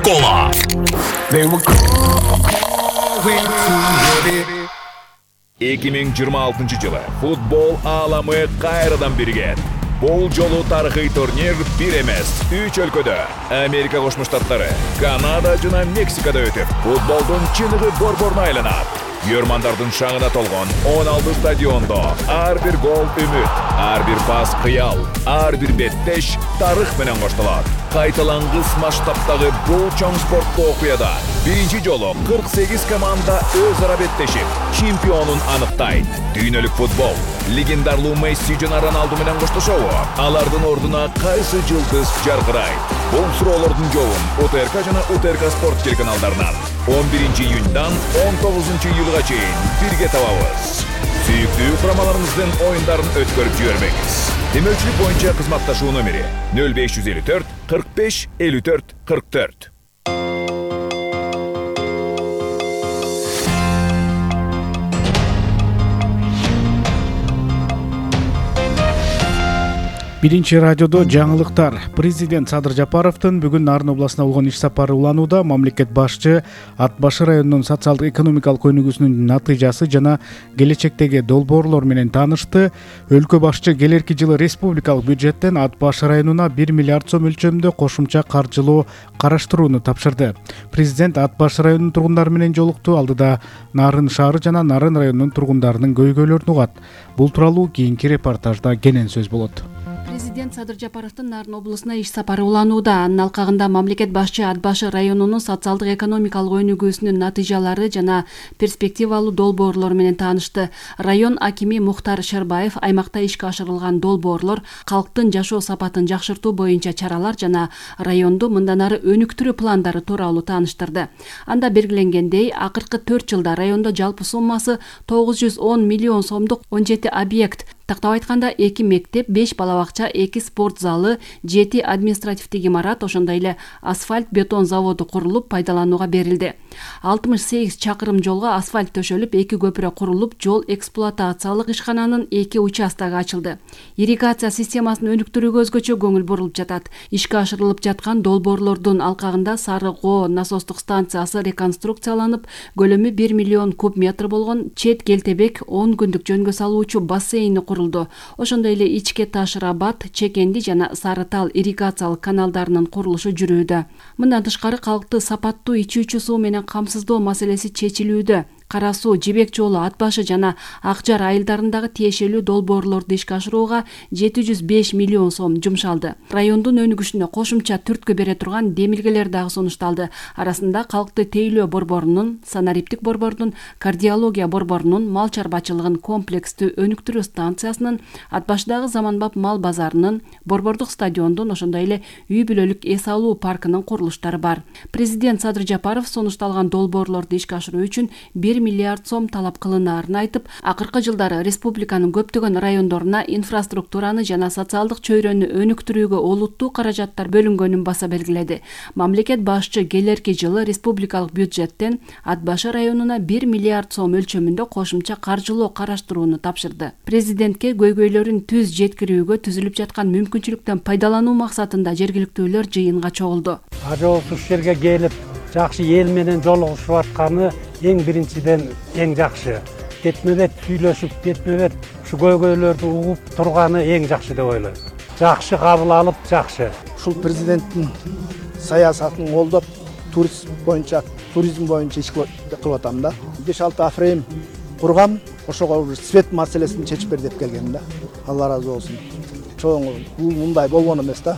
Кола. 2026 жылы футбол ааламы кайрадан биригет. Бул жолу тарыхый турнир бир эмес, 3 өлкөдө Америка Кошмо Штаттары, Канада жана Мексикада өтүп, футболдун чыныгы борборуна айланат. Йөрмандардын шаңына толгон 16 стадиондо ар бир гол үмүт, ар бир пас кыял, ар бир беттеш тарых менен коштолот. Кайталангыс масштабтагы бул чоң спорттук окуяда биринчи жолу 48 команда өз ара беттешип, чемпионун аныктайт. Дүйнөлүк футбол легендарлуу Месси жана Роналду менен коштошобу? Алардын ордуна кайсы жылдыз жаркырайт? Бул суроолордун жообун УТРК жана УТРК спорт телеканалдарынан 11 июньдан 19 июлга чейин бирге табабыз. Сүйүктүү курамаларыңыздын оюндарын өткөрүп жибербеңиз. Демөчүлүк боюнча кызматташуу номери 0554 45 54 44. Биринчи радиодо жаңылыктар. Президент Садыр Жапаровдун бүгүн Нарын областына болгон иш сапары уланууда. Мамлекет башчы Ат башы районунун социалдык экономикалык өнүгүүсүнүн натыйжасы жана келечектеги долбоорлор менен таанышты. Өлкө башчы келерки жылы республикалык бюджеттен Ат башы районуна 1 миллиард сом өлчөмүндө кошумча каржылоо караштырууну тапшырды. Президент Ат башы районунун тургундары менен жолукту. Алдыда Нарын шаары жана Нарын районунун тургундарынын көйгөйлөрүн угат. Бул тууралуу кийинки репортажда кенен сөз болот. Президент Садыр Жапаровдун Нарын облусуна иш сапары уланууда. Анын алкагында мамлекет башчы Ат башы районунун социалдык экономикалык өнүгүүсүнүн натыйжалары жана перспективалуу долбоорлор менен таанышты. Район акими Мухтар Шербаев аймакта ишке ашырылган долбоорлор, калктын жашоо сапатын жакшыртуу боюнча чаралар жана районду мындан ары өнүктүрүү пландары тууралуу тааныштырды. Анда белгиленгендей, акыркы 4 жылда райондо жалпы суммасы 910 миллион сомдук 17 объект, тактап айтканда 2 мектеп, 5 балабакча, 2 спорт залы, 7 административдик имарат, ошондой эле асфальт бетон заводу курулуп пайдаланууга берилди. 68 чакырым жолго асфальт төшөлүп, 2 көпүрө курулуп, жол эксплуатациялык ишкананын 2 участогу ачылды. Ирригация системасын өнүктүрүүгө өзгөчө көңүл бурулуп жатат. Ишке ашырылып жаткан долбоорлордун алкагында Сары Коо насостук станциясы реконструкцияланып, көлөмү 1 миллион куб метр болгон Чет Келтебек 10 күндүк жөнгө салуучу бассейни курулду. Ошондой эле Ичке Таш Рабат, Чекенди жана Сары Тал ирригациялык каналдарынын курулушу жүрүүдө. Мындан тышкары калкты сапаттуу ичүүчү суу менен камсыздоо маселеси чечилүүдө. Кара суу, Жибек жолу, Ат башы жана Ак Жар айылдарындагы тиешелүү долбоорлорду ишке ашырууга 705 миллион сом жумшалды. Райондун өнүгүшүнө кошумча түрткү бере турган демилгелер дагы сунушталды. Арасында калкты тейлөө борборунун, санариптик борборунун, кардиология борборунун, мал чарбачылыгын комплекстүү өнүктүрүү станциясынын, Ат башыдагы заманбап мал базарынын, борбордук стадиондун, ошондой эле үй бүлөлүк эс алуу паркынын курулуштары бар. Президент Садыр Жапаров сунушталган долбоорлорду ишке ашыруу үчүн 1 миллиард сом талап кылынаарын айтып, акыркы жылдары республиканын көптөгөн райондоруна инфраструктураны жана социалдык чөйрөнү өнүктүрүүгө олуттуу каражаттар бөлүнгөнүн баса белгиледи. Мамлекет башчы келерки жылы республикалык бюджеттен Ат башы районуна 1 миллиард сом өлчөмүндө кошумча каржылоо караштырууну тапшырды. Президентке көйгөйлөрүн түз жеткирүүгө түзүлүп жаткан мүмкүнчүлүктөн пайдалануу максатында жергиликтүүлөр жыйынга чогулду. Ушул жерге келип, жакшы эл менен жолугушуп атканы эң биринчиден эң жакшы. Кетме-бет сүйлөшүп, кетме-бет ушу көйгөйлөрдү угуп турганы эң жакшы деп ойлойм. Жакшы кабыл алып, жакшы. Ушул президенттин саясатын колдоп, туризм боюнча иш кылып атам да. 5-6 афрейм кургам, ошого свет маселесин чечип бер деп келген да. Алла ыраазы болсун. Чоң бул мындай болгон эмес да.